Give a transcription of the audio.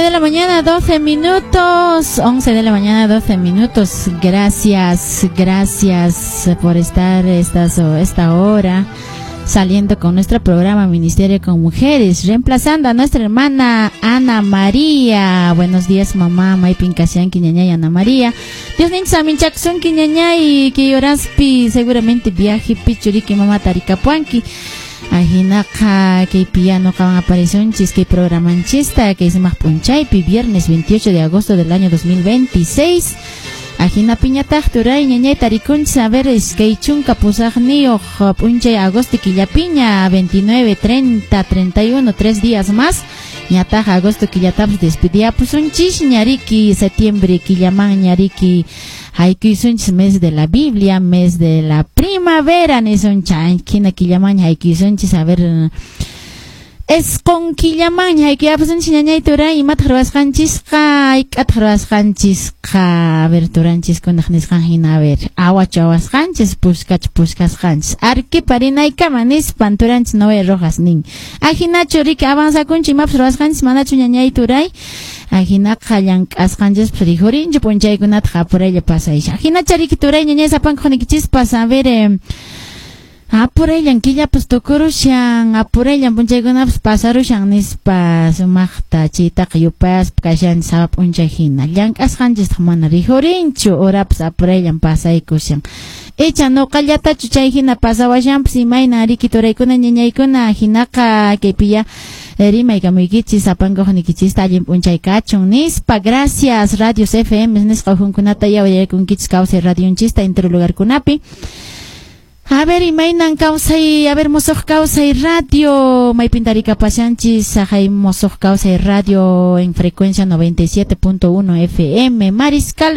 11 de la mañana, 12 minutos. 11 de la mañana, 12 minutos. Gracias, gracias por estar esta hora saliendo con nuestro programa Ministerio con Mujeres, reemplazando a nuestra hermana Ana María. Buenos días, mamá. Maypin kashanki, ñañay Ana María. Dios ninchis aminchakusunki, ñañay, kay horaspi seguramente viajepi churiki mama tarikapuanki. Ajinaqa kaypi ñuqawan aparisunchis kay programanchista kay sumaq p'unchaypi, viernes 28 de agosto del año 2026. Ajinapiñataq, turay, ñañay, tarikunchis, a ver, 28 p'unchay agosto killapiña, 29, 30, 31, 3 días más. Ñataq agosto killatapas despediapusunchis ñariki, septiembre killaman ñariki haykuysunchis, mes de la Biblia, mes de la primavera nisunchis, hina killaman haykuysunchis, a ver, 9 killaman haykuyapusunchis, ñañay, turay, imataq ruwasqanchisqa, hayk'ataq ruwasqanchisqa? A ver, turanchiskunaq nisqan hina, a ver, awachu awasqanchis, puskachu puskasqanchis, Arequipa rinaykama nispan turanchis Noé Rojas nin. Ajinachu riki avanzakunchu imapas ruwasqanchis, manachu, ñañay, turay? Ajinaqa llank'asqanchispas rikhurinchu, p'unchaykunataq apuraylla pasaycha. Ajinacha riki, turay, ñañay, sapanka hunikichispas, a ver, apurayllan killapas tukurushan, apurayllan p'unchaykunapas pasarushan nispa sumaqta chaytaqa yupaspa kashanchis sapa p'unchay hina. Llank'asqanchistaq mana rikhurinchu, horapas apurayllan pasaykushan. Icha nuqallatachu chay hina pasawashanpas, imayna riki, turaykuna, ñañaykuna? Hinaqa kaypiya rimaykamuykichis sapanka hunikichista, allin p'unchay kachun nispa. Gracias, Radios FM nisqa uhunkunata yawayaykunkichis kawsay radionchista entero lugarkunapi. A ver, imaynan kawsay, a ver, Mosoq Kawsay Radio, maypin tarikapashanchis, saqay Mosoq Kawsay Radio en frecuencia 97.1 FM, Mariscal.